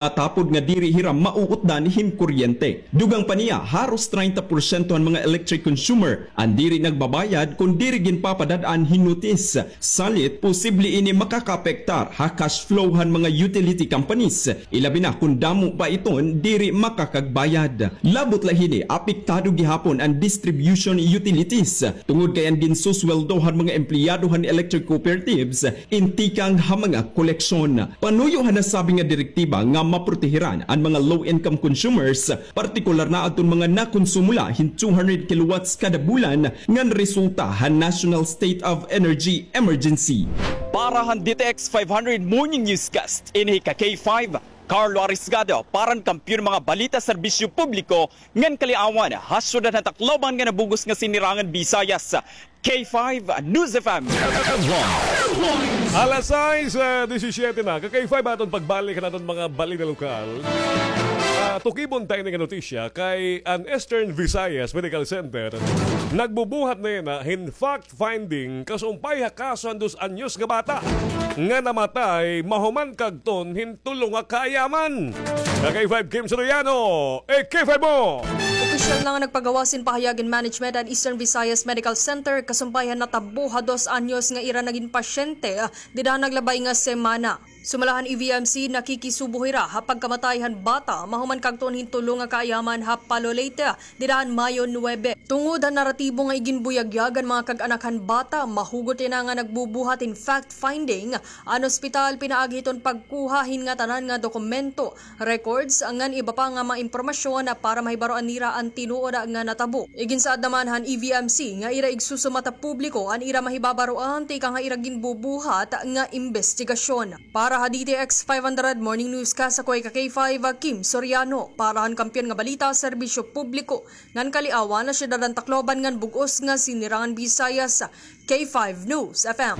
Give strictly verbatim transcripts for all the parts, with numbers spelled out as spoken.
Atapod nga diri hira mauutdan hin kuryente. Dugang pa niya, haros treinta porsyento han mga electric consumer an diri nagbabayad kon diri ginpapadad-an hin notis. Salit, posible ini makakaapektar ha cash flow han mga utility companies, ilabi na kon damo pa iton diri makakagbayad. Labot la hini, apektado gihapon an distribution utilities, tungod kay an ginsusweldo han mga empleyado han electric cooperatives in tikang ha mga koleksyon. Panuyo han nasabi nga direktiba nga maprotehiran an mga low-income consumers, partikular na adton mga nakonsumo la hin two hundred kilowatts kada bulan ngan resulta han National State of Energy Emergency. Para han D T X five hundred Morning Newscast, ini hi ka K five, Carlo Arisgado, para han Kampiyon Mga Balita, Serbisyo Publiko, ngan Kaliawan, ha syudad han Tacloban nga nabug-os nga Sinirangan Visayas, K five News F M. Alas sais, eh, disisiete na. Ka K five, aton pagbalik han aton mga balita lokal. Ah, tukibon ta ini nga notisya kay an Eastern Visayas Medical Center nagbubuhat na yana hin fact-finding kasumpay ha kaso han dos anyos nga bata nga namatay mahuman kagton hin tulo nga kaayaman. Ka K five, Kim Soriano, eh, K five mo! Opisyal na nga nagpagawas hin pahayag in management an Eastern Visayas Medical Center kasumpay han natabo ha dos anyos nga ira nagin pasyente, ah, dida han naglabay nga semana. Sumala han E V M C, nakikisubo hira ha pagkamatay han bata mahuman kagton hin tulo nga kaayaman ha Palo, Leyte, dida han Mayo nuebe. Tungod han naratibo nga iginbuyagyag han mga kag-anak han bata, mahugot yana nga nagbubuhat hin fact-finding an ospital pinaagi hiton pagkuha hin ngatanan nga dokumento, records, ngan iba pa nga mga impormasyon para mahibaroan nira an tinuod nga natabo. Iginsaad naman han E V M C nga ira igsusumat ha publiko an ira mahibabaroan tikang ha ira ginbubuhat nga imbestigasyon. Para ha D T X five hundred Morning Newscast, ako hi ka K five, Kim Soriano, para han Kampiyon nga Balita, Serbisyo Publiko, ngan Kaliawan, ha syudad han Tacloban ngan bug-os nga Sinirangan Visayas, K five News F M.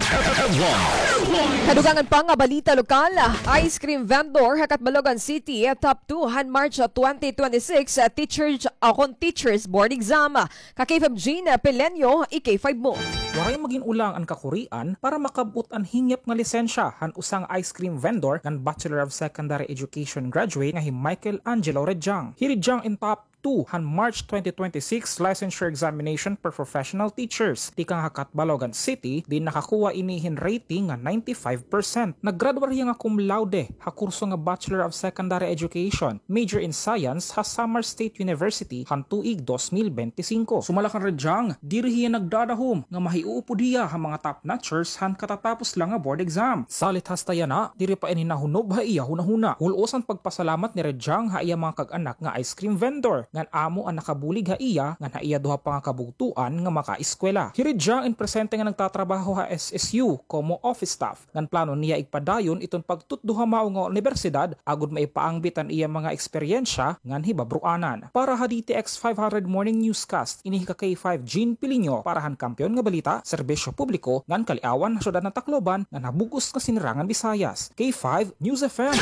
Kadugangan pa nga balita lokal, ice cream vendor ha Catbalogan City, top two han March twenty twenty-six, teachers, akon teachers board exam. Ka K five Jean Pelenyo, i K five mo. Waray magin-ulang an kakurian para makab-ot an hingyap nga lisensya han usa nga ice cream vendor ngan Bachelor of Secondary Education graduate nga hi Michael Angelo Rejang. Hi Rejang in top two han March twenty twenty-six licensure examination for professional teachers tikang ha Catbalogan City, diin nakakuha ini hin rating nga ninety-five percent. Naggraduar hiya nga cum laude ha kurso nga Bachelor of Secondary Education, major in Science, ha Samar State University han tuig dos mil bente singko. Sumala kan Rejang, diri hiya nagdadahom nga mahiuupod hiya ha mga top notchers han katatapos la nga board exam. Salit hasta yana, diri pa ini nahunob ha iya hunahuna. Hul-os an pagpasalamat ni Rejang ha iya mga kag-anak nga ice cream vendor, ngan amo an nakabulig ha iya ngan ha iya duha pa nga kabugtoan nga makaeskwela. Hi Rejang in presente nga nagtatrabaho ha S S U komo office staff, ngan plano niya igpadayon iton pagtutdo ha mao nga unibersidad agod maipaangbit an iya mga eksperyensya ngan hibabroanan. Para ha D T X five hundred Morning Newscast, ini hi ka K five Jean Pilinyo para han Kampiyon nga Balita, Serbisyo Publiko, ngan Kaliawan, ha syudad han Tacloban, ngan ha bug-os nga Sinirangan Visayas. K five News F M.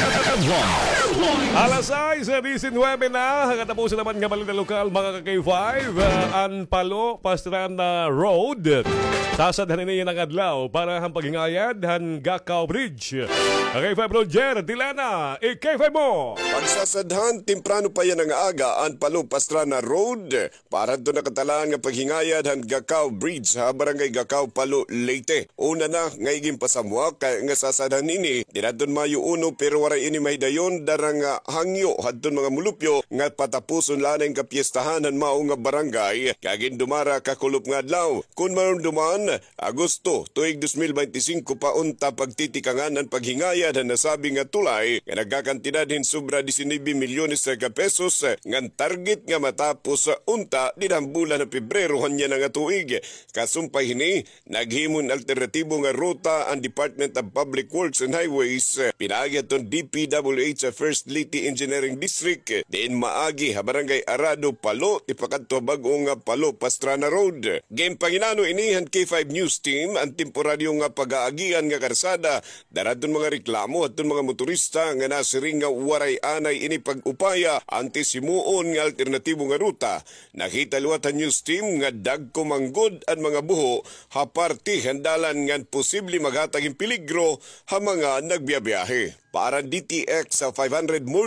Alas sais, eh, disinwebe na. Katapusan naman nga balita lokal, mga ka K five, ah, an Palo Pastrana Road. Sasadhan ini nga adlaw para han paghingayad han Gacao Bridge. Ka K five Roger Tilana, i K five mo. Pagsasadhan, temprano pa yana nga aga, an Palo Pastrana Road para hadto nakatalaan nga paghingayad han Gacao Bridge ha Barangay Gacao, Palo, Leyte. Una na nga iginpasamwak nga sasadhan ini didto han Mayo uno, pero waray ini mahidayon dara nga hangyo hadton mga mulupyo nga patapuson la anay an kapyestahan han mao nga barangay kag gindumara kakulop nga adlaw. Kon marumduman, Agosto, tuig dos mil bente singko pa unta pagtitikangan an paghingayad han nasabi nga tulay nga nagkakantidad hin sobra disinuybe milyones ka pesos, ngan target nga matapos unta dida han bulan han Pebrero han yana nga tuig. Kasumpay hini, naghimo hin alternatibo nga ruta an Department of Public Works and Highways, pinaagi hadton D P W H First Leyte Engineering District, diin maagi ha Barangay Arado, Palo, ipakadto ha bag-o nga Palo Pastrana Road. Ginpanginano ini han K five News Team, an temporaryo nga pag-aagian nga karsada dara hadton mga reklamo hadton mga motorista nga nasiring nga waray anay ini pag-upaya antes himuon nga alternatibo nga ruta. Nakita liwat han News Team nga dagko man gud an mga buho ha parte han dalan ngan posible maghatag hin peligro ha mga nagbiyabiyahe. aran D T X five hundred Morning